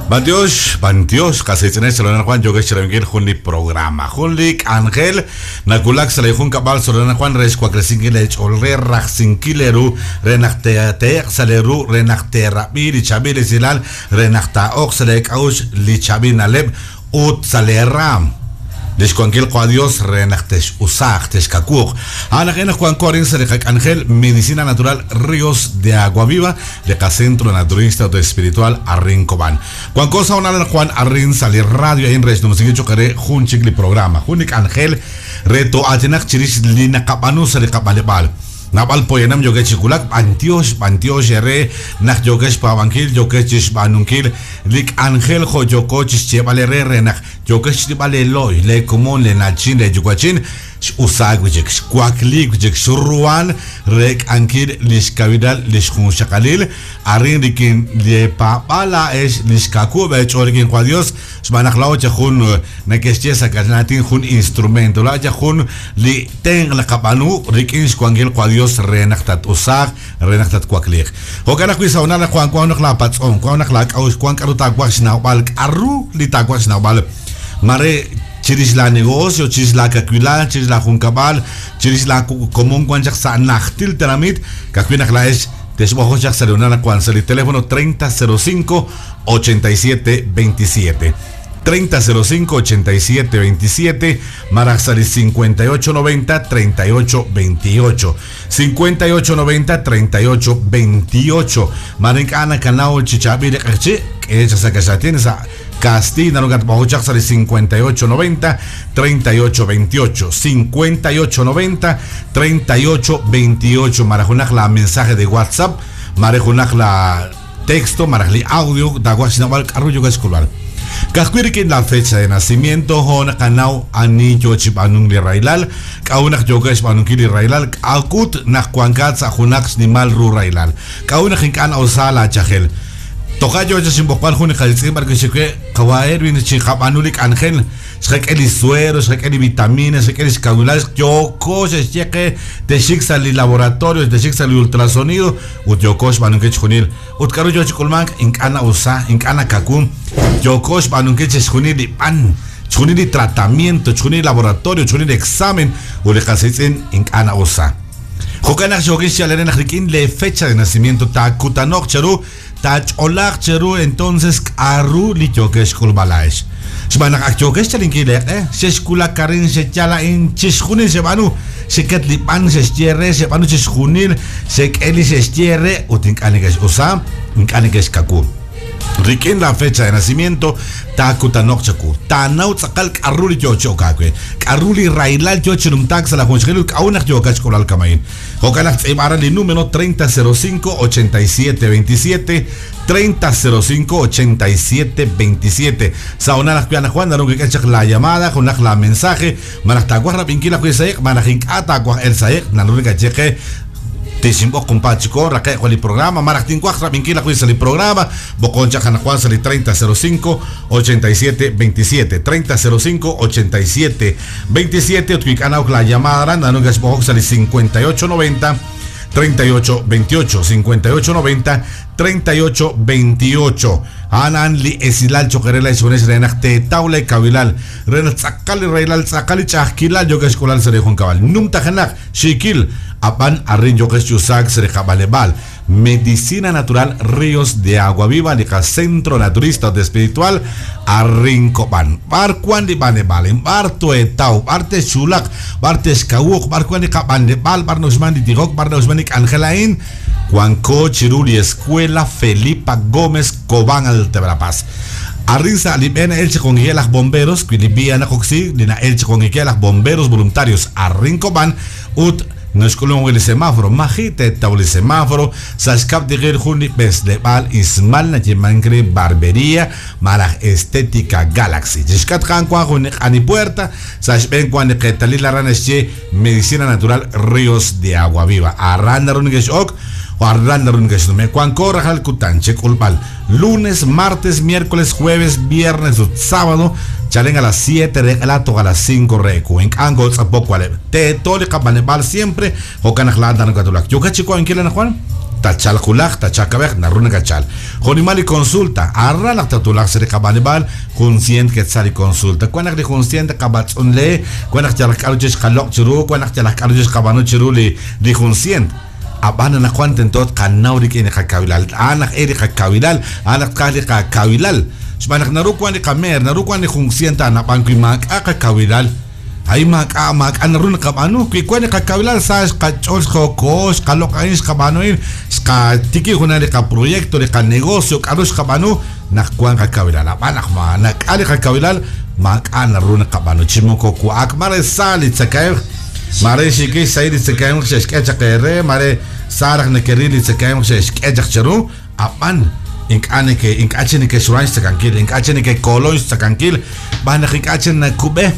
B'antiox, b'antiox, qas qiitz'inex Solana Juan yokex chirab'inkil jun li programa, jun li k'anjel nawulak sa' li junkab'al Solana Juan re xwaklesinkil eech'ool re rajsinkil eeru re naq teeq sa' lee ru re naq teerab'i li chaab'il esilal re naq taa'oq sa' leek'a'uxl li chaab'il na'leb' ut sa' lee raam lix wankil Qo Dios re naq tex'usaaq texkawuuq. A'an aj naq wanko arin sa' li qak'anjel Medicina Natural Ríos de Agua Viva li qacentro naturista ut espiritual arin Cobán. Wanko sa' honal Juan arin sa' li radio a'in re xnumsinkil cho'q re jun chik li programa, jun li k'anjel re to'aatinaq chirix li naqab'aanu sa' li qab'aleb'aal. Naab'al poyanam yokex chi wulak, b'antiox, b'antiox eere naq yokex xpaab'ankil, yokex chi xb'aanunkil li k'anjel jo' yoko chi xyeeb'al eere re naq yokex xch'ib'al leelooy, leekomon, leenachin, leeyuwa'chin, x'usaak wi' chik, xwakliik wi' chik, xruhan rek'ankil li xkawilal li xjunxaqalil arin rik'in leepaab'aal laa'ex li xkawub' eech'ool rik'in Qwa Dios, xb'aan naq laa'o chaq jun neke'xye sa' kaxlan jun instrumento, laa'o chaq jun li tenq' naqab'aanu rik'in xwankil Qwa Dios re naq tat-usaaq, re naq tatwakliiq. Jo'kan ajwi' sa' honal naq wan naq laapatz'om, wan naq laak'a'uxl, wan k'a'ru taawaj xnawb'al, k'a'ru li taawaj xnawb'al, mare chirix la negocio, chirix la kawilal, chirix la junkab'al, chirix la komon wan chaq sa' najtil tenamit, ka'ajwi' naq laa'ex texb'oqoq chaq sa' li honal naq wan sa' li teléfono 3005 87 27. 3005 87 27, malaj sa' li 58 90 38 28. 58 90 38 28. Mare ink'a' nakanaw chi chaab'il li q'eqchi', k'e chaq sa' kaxlatin sa' kastiy naru katb'oqok chaq sa' li 58 90 38 28. 58 90 38 28. Malaj junaq la mensaje de WhatsApp, mare junaq la texto, malaj li audio taawaj xnawb'al k'a'ru yokex xk'ulb'al. Ka'ajwi' rik'in la fecha de nacimiento jo' naqanaw ani yo chi b'aanunk li rahilal, k'a'ut naq yokex xb'aanunkil li rahilal, k'a'ut naq wankat sa' junaq xnimal ru rahilal, k'a'ut naq ink'a' na'usa laachajel. Toja' yo chaq xinb'oqb'al jun li qaritz'in b'ar wi' xewe qawa' Erwin chi qab'aanu li k'anjel, xqak'e li suero, xqak'e li vitamina, xqak'e li xkawilal, yoko xe'xye qe texik sa' li laboratorio, texik sa' li ultrasonido ut yoko xb'aanunkil chixjunil. Ut k'a'ru yo chi k'ulmank, ink'a' na'usa, ink'a' nakawu, yoko xb'aanunkil chixjunil li b'an, chixjunil li tratamiento, chixjunil li laboratorio, chixjunil li examen ut li qas qiitz'in ink'a' na'usa. Jo'kan naq xookin xyal eere naq rik'in le fecha de nacimiento taakutano'q cheru, taach'olaaq cheru entonces k'a'ru li yokex xk'ulb'al laa'ex. Xb'aan naq ak yokex chalinkil leeq'e, xexwulak arin, xeyal a'in, chixjunil xeb'aanu, xeket li b'an xexye re, xeb'aanu chixjunil, xek'e li xexye re ut ink'a' nekex'usa, ink'a' nekexkawu. Rik'in la fecha de nacimiento taakutano'q chawu, taanaw tz'aqal k'a'ru li yo chi ok aawe, k'a'ru li rahilal yo chi numtaak sa' la junxaqalil ut k'a'ut naq yookat xk'ulb'al kama'in. Jo'kan naq tz'iib'a li número 3005 87 27, 3005 87 27. Sa' honal ajwi' anaqwan naru kik'e chaq la llamada, junaq la mensaje, malaj taawaj rab'inkil ajwi' sa' iq', malaj ink'a' taawaj el sa' iq', naru nakaye qe tixinb'oq compadre chiko raqe' jun li programa, malaj tinwaj rab'inkil ajwi' sa' li programa, b'oqon chaq anaqwan sa' li 3005 87 27, 3005 87 27 ut wi ink'a' nawk la llamada aran, naru nakexb'oqok sa' li 58 90 38 28, 58 90 38 28. A'an li esilal cho'q re laa'ex re naq teetaw leekawilal, re naq tz'aqal li rahilal, tz'aqal li ch'a'ajkilal yokex xk'ulal sa' li junkab'al. Numtajenaq xiikil ab'an arin yokex chi usaak sa' li qab'aleb'aal. Medicina Natural Ríos de Agua Viva, li qacentro naturista ut espiritual arin Cobán. B'ar wan li b'aneb'aal, b'ar toetaw, b'ar texxulaq, b'ar texkawuq, b'ar wan li qab'aneb'aal, b'ar na'uxman li tijok, b'ar na'uxman li k'anjel a'in, wanko chiru li Escuela Felipa Gómez Cobán Alta Verapaz. Arin sa' li b'e na'el chi qongikel laj bomberos, wi li vía naqoksi, li na'el chi qongikel laj bomberos voluntarios arin Cobán ut naxk'ulun wi li semáforo, maji' teetaw li semáforo, sa' xkab' tiqil jun li b'esleb'aal ismal nayeemank re barbería malaj Estética Galaxy. Chixk'atq a'an wan jun li q'ani puerta, sa' xb'een wan li qeetalil aran naxye Medicina Natural Ríos de Agua Viva. Aran naru nekex'ok o aran naru nekexnume'. Wanko rajlal kutan chek'ulb'al lunes, martes, miércoles, jueves, viernes ut sábado, chalen a las 7 re q'ela toj a las 5 re ewu. Ink'a' nkootz'apok waleb'. Teeto li qab'aneb'aal siempre, jo'kan naq laa'at naru nakatwulak. Yokat chi wankil anaqwan? Tatchalq wulaj, tatchalq kab'ej, naru nakatchalk. Jo'nimal li consulta, aran naq tatwulaq sa' li qab'anib'aal, jun sient ketzal li consulta. Wan naq li jun sient qab'atz'unle, wan naq yalaq k'a'ru chik xqaloq' chiru, wan naq yalaq k'a'ru chik xqab'aanu chiru li li jun sient. Ab'an anaqwan tento tqanaw rik'in li qakawilal. A'an aj e li qakawilal, a'an naq tqaj li qakawilal. Xb'aan naq naru wan li qameer, naru wan li jun sient a'an, ab'an wi maak'a' qakawilal, a'in maak'a' maak'a' naru naqab'aanu. Wi wan li qakawilal sa xqach'ool xqokoho, xqaloq' a'in, xqab'aanu a'in, xqatikib' junaq li qaproyecto, li qanegocio, k'a'ru xqab'aanu naq wan qakawilal. Ab'an naq maak'a' li qakawilal, maak'a' naru naqab'aanu. Chi moko wa'ak, mare sa li tzakahemq, mare xiikil xsahil li tzakahemq xe'xk'e chaq eere, mare sa raj nekeril li tzakahemq xe'xk'e chaq cheru, ab'an ink'a' neke ink'a' chik nekexruhan xtzakankil, ink'a' chik nekekolon xtzakankil, b'an naq ink'a' chik nakub'e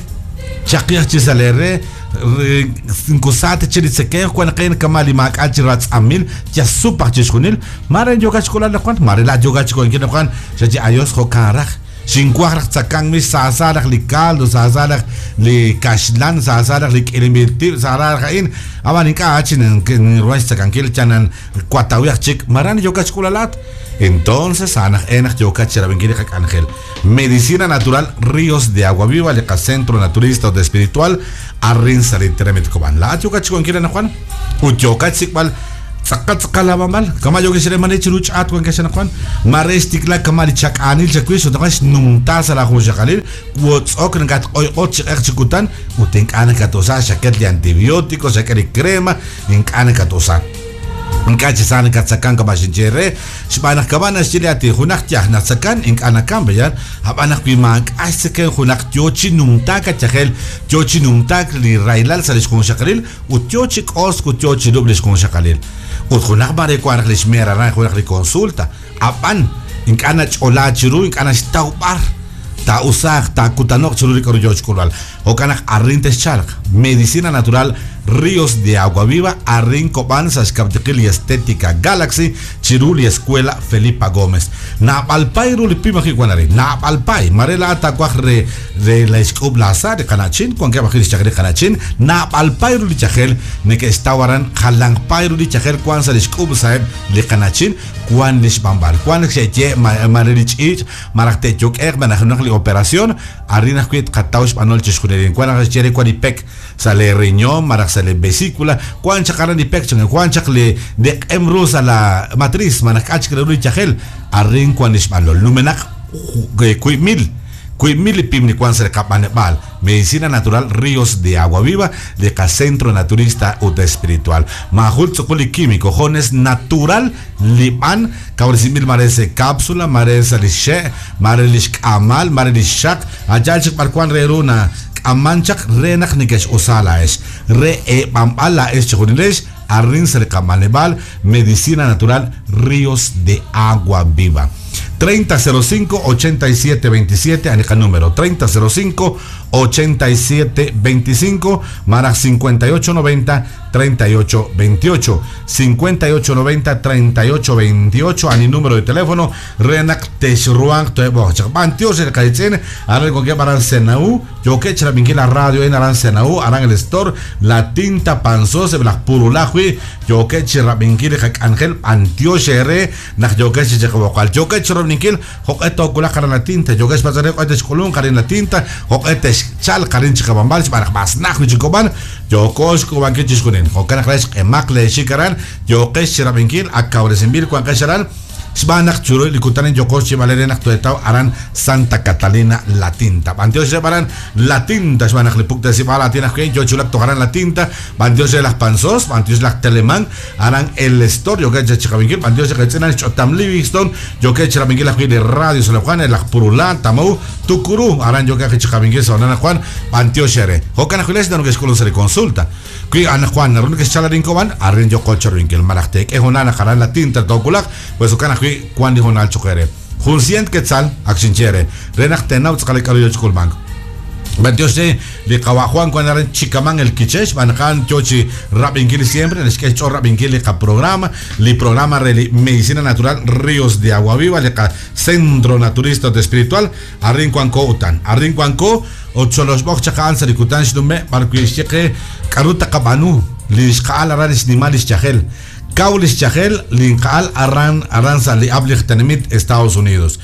chaqi aj chi sa' lee re, moko sa ta chik li tzekemq, wan naq kama' li maak'a' chi ratz'amil, yal sup aj chixjunil, mare yookat xk'ulal anaqwan, mare laa'at yookat xk'oxlankil anaqwan, xaye ayos jo'kan raj. Xinwaj raj tzakank mix, saasa raj li caldo, saasa raj li kaxlan, saasa raj li k'ilinb'il tib', saasa raj a'in. Ab'an ink'a' chi ninruhan xtzakankil chanan watawi aj chik. Ma ra yookat xk'ulal laa'at? Entonces, a'an aj e naq yookat chirab'inkil li qak'anjel. Medicina Natural Ríos de Agua Viva, li qacentro naturista ut espiritual, arin sa' li tenamit Cobán. Laa'at yookat xk'onkil anaqwan ut yookat xsik'b'al tz'aqal tz'aqal laab'anb'al. Kama' yookex re mare chiru ch'aat wankex anaqwan, mare xtikla kama' li chak'aanil chawix ut anaqwan xnumta sa' laajunxaqalil, wotz'ok nakatq'oyq'ot chi q'eq chi kutan ut ink'a' nakatusa, xaket li antibiótico, xak'e li crema, ink'a' nakatusa. Ink'a' chi sa nakatzakan kama' xinye re, xb'aan naq kama' naxye li aatin, junaq yaj natzakan ink'a' nakam, pe'yaal? Ab'an naq wi maak'a' xtzekemq junaq yo chi numtaak a yajel, yo chi numtaak li rahilal sa' li xjunxaqalil ut yo chi k'osk ut yo chi lub'k li xjunxaqalil. Ut junaq mare wank raj li xmeer aran junaq li consulta, ab'an ink'a' nach'olaak chiru, ink'a' naxtaw b'ar taa'usaaq, taakutano'q chiru li k'aru yo xk'ulb'al. Jo'kan naq arin texchalq. Medicina Natural Ríos de Agua Viva, arin Cobán sa' xkab'tiqil li Estética Galaxy chiru li Escuela Felipa Gómez. Naab'al paay ru li pim ajwi' wan arin. Naab'al paay. Mare laa'at taawaj re re la xk'ub' laasa' li qana'chin, wankeb' ajwi' li xyajel li qana'chin. Naab'al paay ru li yajel neke'xtaw aran, jalanq paay ru li yajel wan sa' li xk'ub' sa'eb' li qana'chin, wan li xb'anb'al. Wan xe'ye mare li ch'iich' malaj te'yok'e'q malaj junaq li operación. Arin ajwi' tqataw xb'anol chixjunil. Wank naq naxye re wank li pek sa' lee riñon malaj sa' lee vesícula, wank chaq aran li pek chan, wank chaq li li q'em ru sa' la matriz malaj k'a' chik re ru li yajel, arin wank li xb'anol. Numenaq 1000 wiib' mil li pim li wank sa' li qab'aneb'aal, Medicina Natural Ríos de Agua Viva, li qacentro naturista ut espiritual. Maajun tz'uqul li químico, jones natural li b'an, kawresinb'il mare sa' capsula, mare sa' li xxe', Mare li xk'aamal, mare li xxaq, a' yaal chik b'ar wank re ru nak'ammank chaq re naq nekex'usa laa'ex, re eeb'anb'al laa'ex chejunilex arin sa' li qab'anleb'aal Medicina Natural Ríos de Agua Viva. 3005 8727 ani qanúmero 3005 8725 malaj 5890 38 28 58 90 38 28 ani número de teléfono re naq texruhanq toheb'oq chaq. B'antiox re li qayitz'in, aran wankeb' aran Senahú, yookeb' chirab'inkil la radio a'in aran Senahú, aran El Estor, La Tinta, Panzós, eb' laj Purulá ajwi' yookeb' chirab'inkil li qak'anjel. B'antiox eere naq yookeb' chi chiqab'oqb'al. Yookeb' chirab'inkil jo'q'e toowulaq aran La Tinta, yookeb' xpatz'b'al re jo'q'e texk'ulunq arin La Tinta, jo'q'e texchalq arin chiqab'anb'al xb'aan naq mas najt wi' chik Kob'an, yooko xk'uub'ankil chixjunil. Jo'kan naq re xq'emaq leexik aran, yooqex chirab'inkil, ak kawresinb'il wanqex aran. Xb'aan naq chiru li kutan a'in yooqo xyeeb'al eere naq toetaw aran Santa Catalina La Tinta. B'antiox reheb' aran La Tinta xb'aan naq li puktesib'aal aatin ajwi' yo chi wulak toj aran La Tinta. B'antiox re laj Panzós, b'antiox laj Telemán aran El Estor yookeb' chaq chiqab'inkil. B'antiox li qetz'in aran xch'otam Livingston yookeb' chirab'inkil ajwi' li radio San Juan, laj Purulá, Tamou, Tucurú aran yookeb' ajwi' chiqab'inkil sa' anaqwan. B'antiox eere. Jo'kan ajwi' leex naru nekexk'ulunk sa' li consulta. Wi anaqwan naru nekexchal arin Cobán, arin yooqo cherub'inkil. Malaj teek'e hoonal naq aran La Tinta toowulaq, pues jo'kan ajwi' wank li hoonal cho'q eere. Jun sient ketzal, ak xinye eere, re naq teenaw tz'aqal li k'aru yo chi k'ulmank. B'antiox re li qawa' Juan wank aran Chicamán El Quiché, xb'aan naq a'an yo chi rab'inkil siempre, naxk'e xch'ool rab'inkil li qaprograma, li programa re li Medicina Natural Ríos de Agua Viva, li qacentro naturista ut espiritual. Arin wanko utan. Arin wanko ut xoloxb'oq chaq a'an sa' li kutan xnume' b'ar wi' xye qe k'aru taqab'aanu, li xqa'al aran li xnimal li xyajel. Kaw lix yajel linqa'al aran aran sa' li ab'l li tenamit Estados Unidos.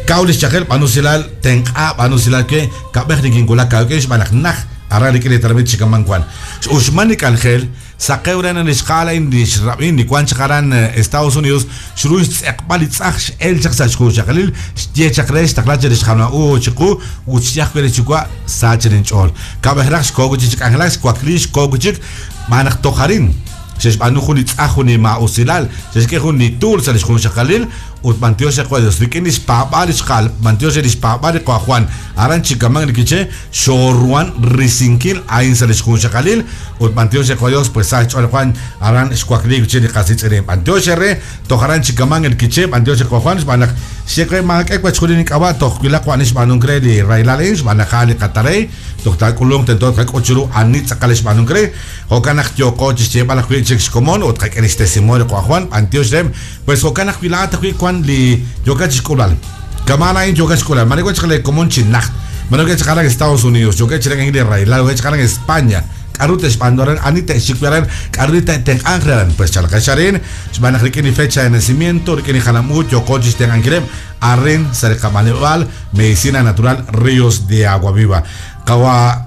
Kaw lix yajel b'aanu usilal tenq'a b'aanu usilal we kab'ej nikinwulak aawik'in xb'aan naq naj aran rik'in li tenamit chikaman wan. X'uxman li k'anjel saqew re naq li xqa'al a'in li xrab'in li wan chaq aran Estados Unidos xru xtz'eqb'al li tz'aj x'el chaq sa' xjunxaqalil xye chaq re xtaqla chaq li xjalma-u chiqu ut xye ajwi' re xyuwa' sa chaq linch'ool. Kab'ej raj xkoho wi' chik chi k'anjelak xwakli xkoho wi' chik xb'aan naq toj arin xe'xb'aanu jun li tz'aj jun li maa'usilal xe'xk'e jun li tuul sa' li xjunxaqalil ut b'antiox re Dios rik'in li xpaab'aal li xqa'al b'antiox re li xpaab'aal li qawa' Juan aran chikaman li Quiché xooruhan risinkil a'in sa' li xjunxaqalil ut b'antiox re Dios pues sa xch'ool Juan aran xwakliik wi' chik li qasitz'irin b'antiox re toj aran chikaman el Quiché b'antiox re Juan xb'aan naq xye maak'e wachjunil ink'ab'a' toj wilaq wan xb'aanunk re li rahilal a'in xb'aan naq a'an li qatarey toj taak'ulunq tento tqak'ut chiru ani tz'aqal xb'aanunk re jo'kan naq yooqo chi xyeeb'al ajwi' chik xkomon ut qak'e li xtestimonio li qawa' Juan b'antiox re pues jo'kan ajwi' laa'at ajwi' wan li yookat chi xk'ulb'al kama'an a'in yookat xk'ulb'al mare wan chaq le komon chi najt mare wan chaq aran Estados Unidos yookat chi rek'ankil li rahilal wan chaq aran España k'aru te'xb'aanu aran ani te'xik wi' aran k'aru li te'tenq'anq re aran pues chalqex arin xb'aan naq rik'in li fecha de nacimiento rik'in li jalam-uuch yooqo chi xtenq'ankileb' arin sa' li qab'aneb'aal Medicina Natural Ríos de Agua Viva qawa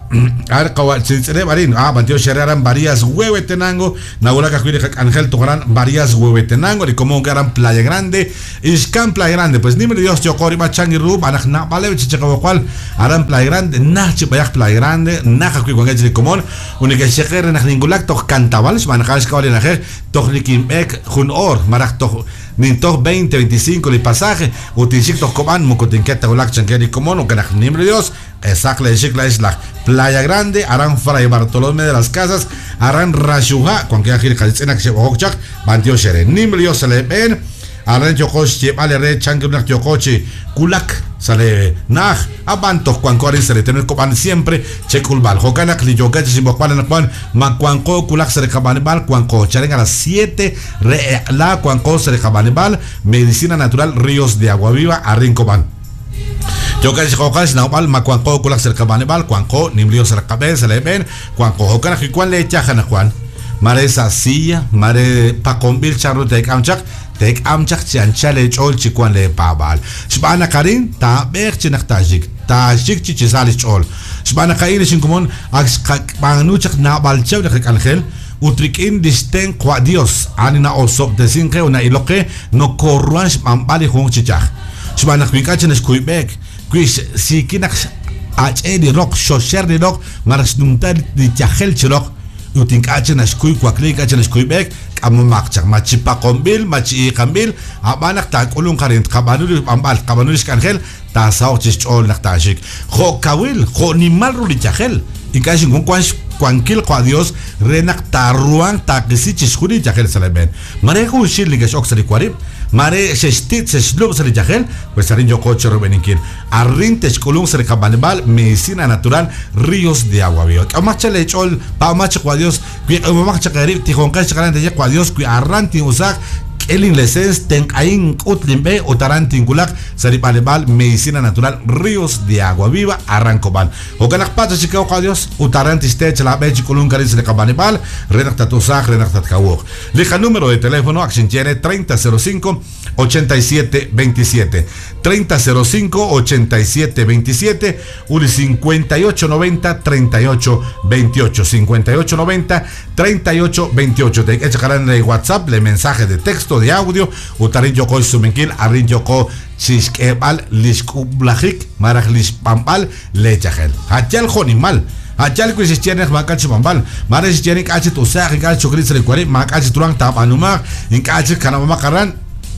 ar qawa chitz'ileb' arin b'antiox re aran Varias Huehuetenango nawulak ajwi' li qak'anjel toj aran Varias Huehuetenango li komon aran Playa Grande ixkan Playa Grande pues nim li Dios yooqo rib'a changi ru b'an naq nab'aleb' chi chiqawaqwal aran Playa Grande naj chi b'ayaq Playa Grande naj ajwi' wankeb' li komon uneke'xyeqe re naq ninwulak toj Kantab'al xb'aan naq a'an xk'ab'a' li na'ajej toj nikinb'eek jun oor maraj toj nintoj 20 25 li pasaje ut tinxik toj Kob'an moko tinket ta wulak chanke li komon uke naq nim li Dios q'esaq le'xik la'ex laj Playa Grande aran Fray Bartolomé de las Casas aran Raxuja wankeb' ajwi' li qasitz'in ak xe'b'ojok chaq b'antiox re nim li Dios sa' leeb'een aran yooqo xyeeb'al re chank ru naq yooqo chi wulak sa' le na'aj ab'an toj wanko arin sa' li tenamit Kob'an siempre chek'ulb'al jo'kan naq li yookat chi xinb'oqb'al anaqwan ma wanqo wulak sa' li qab'anib'aal wanqo chalen a las 7 re eq'la wanqo sa' li qab'anib'aal Medicina Natural Ríos de Agua Viva arin Kob'an Yo'kan xqoqal xnawb'al ma wanqo wulak sa' li qab'anib'aal wanqo nim li Dios sa' li qab'een sa' leeb'een wanqo jo'kan ajwi' wan leeyaj anaqwan mare sa' silla mare paqonb'il chanru teek'am chaq teek'am chaq chi anchal eech'ool chi wan leepaab'aal xb'aan naq arin taab'eeq chi naq taaxik taaxik chi chisa li xch'ool xb'aan naq a'in li xinkomon ak xqab'aanu chaq naab'al chihab' li qak'anjel ut rik'in li xtenq' wa' Dios a'an li na'osob'tesink qe ut na'ilok qe nokoruhan xb'anb'al li junq chi yaj xb'aan naq wi ink'a' chi naxkuyb'eek wi xsiiki naq ach'e li roq xoxer li roq malaj xnumta li yajel chi roq ut ink'a' chi naxkuy wakliik ink'a' chi naxkuyb'eek k'amomaq chaq ma chi paqonb'il ma chi iiqanb'il ab'an naq taak'ulunq arin tqab'aanu li b'anb'al tqab'aanu li xk'anjel taasaho'q chi xch'ool naq taaxik jo' kawil jo' nimal ru li yajel ink'a' xinkun wan xwankil qawa' Dios re naq taaruhanq taaqisi chixjunil li yajel sa' leeb'een mare junxil li ke'x'ok sa' li warib' mare xe'xtit' xe'xlub' sa' li yajel pues arin yooqo chi royb'eninkil arin te'xk'ulunq sa' li qab'anib'aal Medicina Natural Ríos de Agua Viva k'amomaq chaq leech'ool paab'amaq chaq wa' Dios wi q'emomaq chaq eerib' tijonqex chaq aran teeye wa' Dios wi aran tin'usaaq k'e linlesens tenq'ahin k'ut linb'e ut aran tinwulaq sa' li b'aneb'aal Medicina Natural Ríos de Agua Viva aran Kob'an jo'kan naq patz' chi kaw qawa' Dios ut aran tixte chaq laab'e chi k'ulunk arin sa' li qab'aneb'aal re naq tatusaaq re naq tatkawuq li qanúmero de teléfono ak xinye re 3005 87 27 3005 87 27 ut li 58 90 38 28 58 90 38 28 teek'e chaq aran le WhatsApp le mensaje de texto de audio ut arin yooqo xsumenkil arin yooqo chixk'eeb'al li xk'ub'lajik malaj li xb'anb'al leeyajel a'yal jo'nimal a'yal wi xexye naq maak'a' chi b'anb'al mare xexye ink'a' chi t'usaaq ink'a' chi chokrit sa' li warib' maak'a' chi truhanq taab'aanumaaq ink'a' chik kanab'amaq aran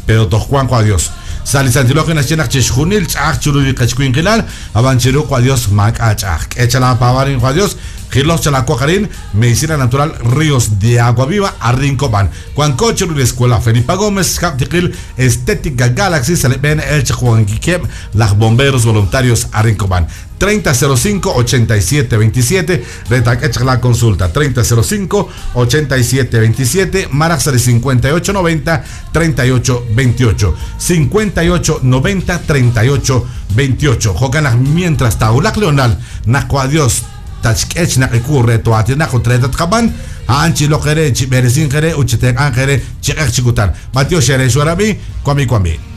pero toj wanq wa' Dios sa' li Santil Hu naxye naq chixjunil ch'a'aj chiru li qechwinqilal ab'an chiru wa' Dios maak'a' ch'a'aj k'e chalaapaab'al arin wa' Dios jiloj chalaawaq arin Medicina Natural Ríos de Agua Viva arin Kob'an wanko chiru li Escuela Felipa Gómez xkab' tiqil Estética Galaxy sa' li b'een el chaq wankikeb' laj bomberos voluntarios arin Kob'an 3005 87 27 re taak'e chaq la consulta 3005 87 27 maraj sa' li 58 90 38 28 58 90 38 28 jo'kan naq mientras taawulaq Leonal naq wa' Dios tatxk'e chi naq' ewu re too'aatinaq ut re tatqab'an, a'an chi'iloq eere, chib'eresinq eere ut chitenq'anq eere chi q'eq chi kutan. B'antiox eere xwarab'i, wami wami.